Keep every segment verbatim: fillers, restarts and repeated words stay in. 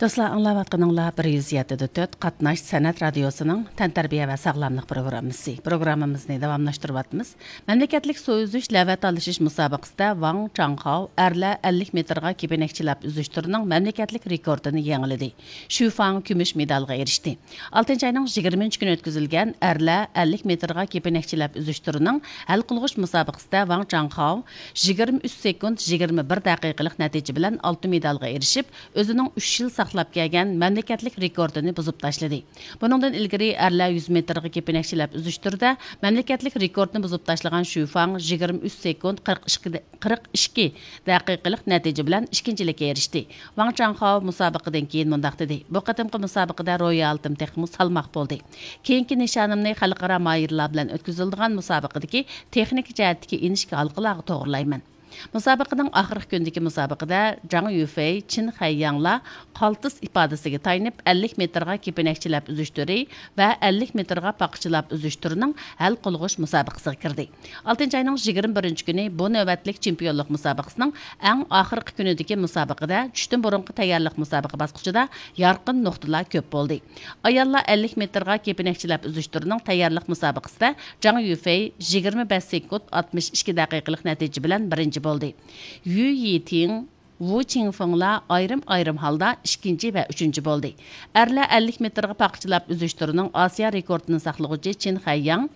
دوستلار، ئاڭلاۋاتقىنىڭلار بىر يۈز يەتتە دە تۆت قاتناش سەنئەت رادىيوسىنىڭ تەنتەربىيە ۋە ساغلاملىق پروگراممىسى. پروگراممىمىزنى داۋاملاشتۇرۇۋاتىمىز. مەملىكەتلىك سۇ ئۈزۈش لەۋە تالىشىش مۇسابىقىسىدە ۋاڭ چاڭخاۋ ئەرلەر ئەللىك مېتىرغا كېپىنەكچىلەپ ئۈزۈش تۈرىنىڭ مەملىكەتلىك رېكورتىنى يېڭىلىدى. شۈ فاڭ كۈمۈش مېدالغا ئېرىشتى. ئالتىنچى ئاينىڭ يىگىرمىنچى كۈنى ئۆتكۈزۈلگەن ئەرلەر ئەللىك مېتىرغا كېپىنەكچىلەپ ئۈزۈش تۈرىنىڭ ھەل قىلغۇچ مۇسابىقىسىدە ۋاڭ چاڭخاۋ يىگىرمە ئۈچ سېكۇنت يىگىرمە بىر دەقىقىلىق نەتىجە بىلەن ئالتە مېدالغا ئېرىشىپ، ئۆزىنىڭ ئۈچ يىل ساقلاپ كەلگەن مەملىكەتلىك رېكورتىنى بۇزۇپ تاشلىدى. بۇنىڭدىن ئىلگىرى ئەرلەر يۈز مېتىرغا كېپىنەكچىلەپ ئۈزۈش تۈرىدە مەملىكەتلىك رېكورتنى بۇزۇپ تاشلىغان شۈ فاڭ يىگىرمە ئۈچ سېكۇنت قىرىق ئىككى، قىرىق ئىككى دەقىقىلىق نەتىجە بىلەن ئىككىنچىلىككە ئېرىشتى. ۋاڭ چاڭخاۋ مۇسابىقىدىن كېيىن مۇنداق دېدى: «بۇ قېتىمقى مۇسابىقىدە روھىي ھالىتىم تېخىمۇ سالماق بولدى. كېيىنكى نىشانىمنى خەلقئارا ماھىرلار بىلەن ئۆتكۈزۈلىدىغان مۇسابىقىدىكى تېخنىكا جەھەتتىكى ئىنچىكە ھالقىلارغا توغرىلايمەن.» مۇسابىقىنىڭ ئاخىرقى كۈنىدىكى مۇسابىقىدە جاڭ يۈفېي، چىن خەيياڭلار قالتىس ئىپادىسىگە تايىنىپ، ئەللىك مېتىرغا كېپىنەكچىلەپ ئۈزۈش تۈرى ۋە ئەللىك مېتىرغا پاقىچىلاپ ئۈزۈش تۈرىنىڭ ھەل قىلغۇچ مۇسابىقىسىغا كىردى. ئالتىنچى ئاينىڭ يىگىرمە بىرىنچى كۈنى بۇ نۆۋەتلىك چېمپىيونلۇق مۇسابىقىسىنىڭ ئەڭ ئاخىرقى كۈنىدىكى مۇسابىقىدە چۈشتىن بۇرۇنقى تەييارلىق مۇسابىقە باسقۇچىدا يارقىن نۇقتىلار كۆپ بولدى. ئاياللار ئەللىك مېتىرغا كېپىنەكچىلەپ ئۈزۈش تۈرىنىڭ تەييارلىق مۇسابىقىسىدە جاڭ يۈفېي يىگىرمە بەش سېكۇنت ئاتمىش ئىككى دەقىقىلىق نەتىجە بىلەن بىرىنچى بولدى. يۈ يىتىڭ، ۋۇ چىڭفېڭلار ئايرىم-ئايرىم ھالدا ئىككىنچى ۋە ئۈچىنچى بولدى. ئەرلەر ئەللىك مېتىرغا پاقىچىلاپ ئۈزۈش تۈرىنىڭ ئاسىيا رېكورتىنى ساقلىغۇچى چىن خەيياڭ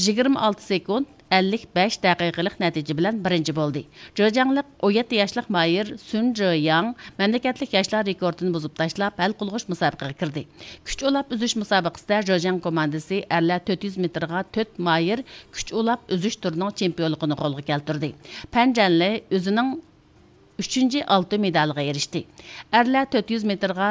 يىگىرمە ئالتە سېكۇنت ئەللىك بەش دەقىقىلىق نەتىجە بىلەن بىرىنچى بولدى. جېجياڭلىق ئون يەتتە ياشلىق ماھىر سۈن جېياڭ مەملىكەتلىك ياشلار رېكورتىنى بۇزۇپ تاشلاپ، ھەل قىلغۇچ مۇسابىقىگە كىردى. كۈچ ئۇلاپ ئۈزۈش مۇسابىقىسىدە جېجياڭ كوماندىسى ئەرلەر تۆت يۈز مېتىرغا تۆت ماھىر كۈچ ئۇلاپ ئۈزۈش تۈرىنىڭ چېمپىيونلۇقىنى قولغا كەلتۈردى. پەن جەنلى ئۆزىنىڭ ئۈچىنچى ئالتۇن مېدالىغا ئېرىشتى. ئەرلەر تۆت يۈز مېتىرغا